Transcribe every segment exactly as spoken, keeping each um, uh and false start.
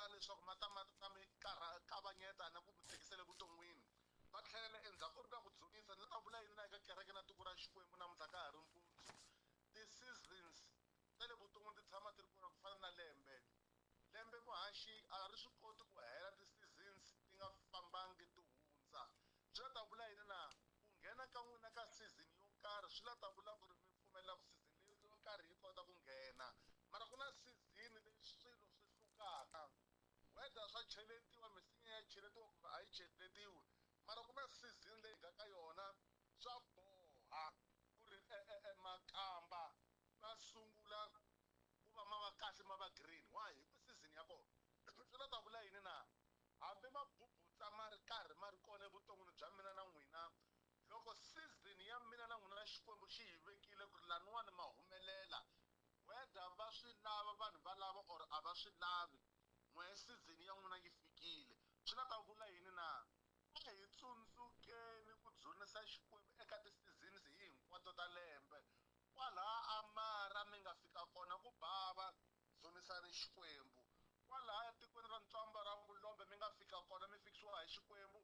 ta leswaku ma ta ma ta mi kavanyeta na ku mi tikisela evuton'wini va tlhelela endzhaku u ri ka ku dzunisa ni ta vula yini na eka kereke na tiko ra Xikwembu namuntlha ka ha ri mpundzu ti-seasons ta le vuton'wini ti tshama ti ri kona ku fana na lembe lembe muhaxi a ri swi koti ku hela ti-seasons ti nga fambangi ti hundza swi la ta vula yini na ku nghena ka n'wina ka season yo karhi swi la ta vula ku ri mi pfumelela ku season leyi yo karhi yi kota ku nghena mara ku na season leyi swilo swi hlukaka whether swa cheletiwa misinya ya cheletiwa kumbe a yi cheletiwi mara ku na season leyi nga ka yona swa boha ku ri makamba ma sungula ku va ma va kahle ma va green why hi ku season ya kona swi la ta vula yini na hambi mabubutsa ma ri karhi ma ri kona evuton'wini bya mina na n'wina loko season ya mina na n'wina Xikwembu xi hi vekile ku ri laniwani ma humelela whether va swi lava vanhu va lava or a va swi lavi n'we season ya n'wina yi fikile swi la ta vula yini na a hi tsundzukeni ku dzunisa Xikwembu eka ti-seasons hi hinkwato ta lembe kwalaha amara mi nga fika kona ku bava dzunisani Xikwembu kwalaha etikweni ra Ntswamba ra Vulombe mi nga fika kona mi fikisiwa hi Xikwembu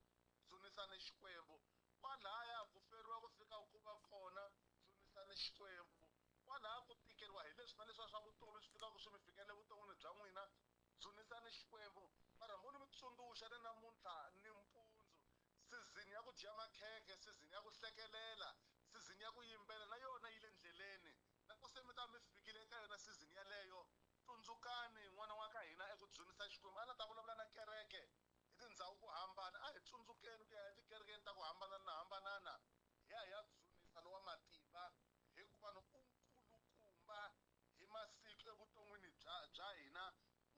dzunisani Xikwembu kwalaya ku feriwa ku fika ku va kona dzunisani Xikwembu kwalaha ku tikeriwa hi leswi na leswiya swa vutomi swi fikaka swi mi fikela evuton'wini bya n'wina dzunisani Xikwembu mara mo ni mi tsundzuxa ni namuntlha ni mpundzu season ya ku dya makhekhe season ya ku hlekelela season ya ku yimbela na yona yi le ndleleni na ku se mi ta mi fikile eka yona season yaleyo tsundzukani n'wana wa ka hina eku dzunisa Xikwembu a na ta vulavula na kereke hi tindhawu ku hambana a hi tsundzukeni ku ya etikerekeni ta ku hambanana hambanana hi ya hi ya dzunisa lowa matimba hikuva ni u nkulukumba hi masiku evuton'wini bya bya hina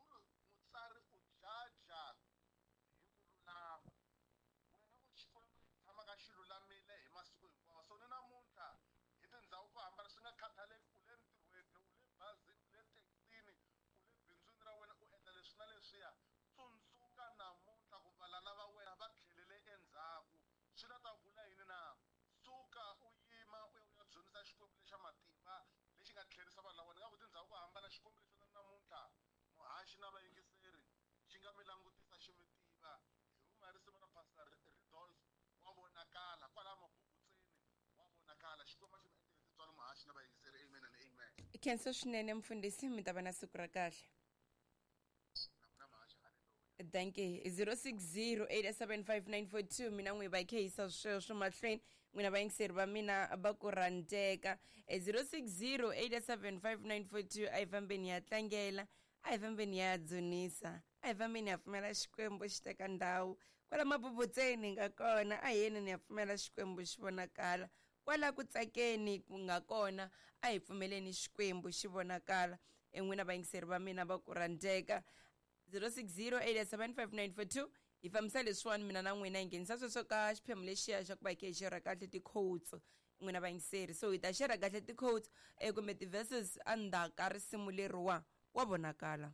u ri mutsari u jaja hi ku lulama wena u Xikwembu tshamaka xi lulamile hi masiku hinkwawo so ni namuntlha hi tindhawu ku hambana swi nga khathaleki u le ntirhweni u le bazini u le thekisini u le bindzwini ra wena u endla leswi na leswiya tsundzuka namuntlha ku valala va wena va tlhelele endzhaku swi la ta vula yini na suka u yima u ya u ya dzunisa Xikwembu lexa matimba lexi nga tlherisa vanhu lava nga ku tindhawu ku hambana Xikwembu lexi na namuntlha muhaxi na vayingiseri xi nga mi langutisa xi mi tiva hi huma hi risimu ra Pastor Ridolf wa vonakala kwalaha mabubutseni wa vonakala Xikwembu xi mi endlele tintswalo muhaxi na vayingiseri amen and amen khensa swinene mfundhisi mi ta va na siku ra kahle na n'wina muhaxi. Thank you. zero six zero eight seven five nine four two mina n'wi va khehisa sweswo mahlweni n'wina vayingiseri va mina va ku rhandzeka zero six zero eight seven five nine four two a hi fambeni ya tlangela a hi fambeni ya dzunisa a hi fambeni ya pfumela Xikwembu xi teka ndhawu kwala mabubutseni nga kona a hi yeni ya pfumela Xikwembu xi vonakala kwala ku tsakeni ku nga kona a hi pfumeleni Xikwembu xi vonakala en'wina vayingiseri va mina va ku rhandzeka zero six zero eight seven five nine four two hi fambisa leswiwani mina na n'wina hi nghenisa sweswo ka xiphemu lexiya xa ku va hi khe hi xerha kahle ti-quotes n'wina vayingiseri so hi ta xerha kahle ti-quotes kumbe ti-verses endzhaku ka risimu leriwa wa vonakala.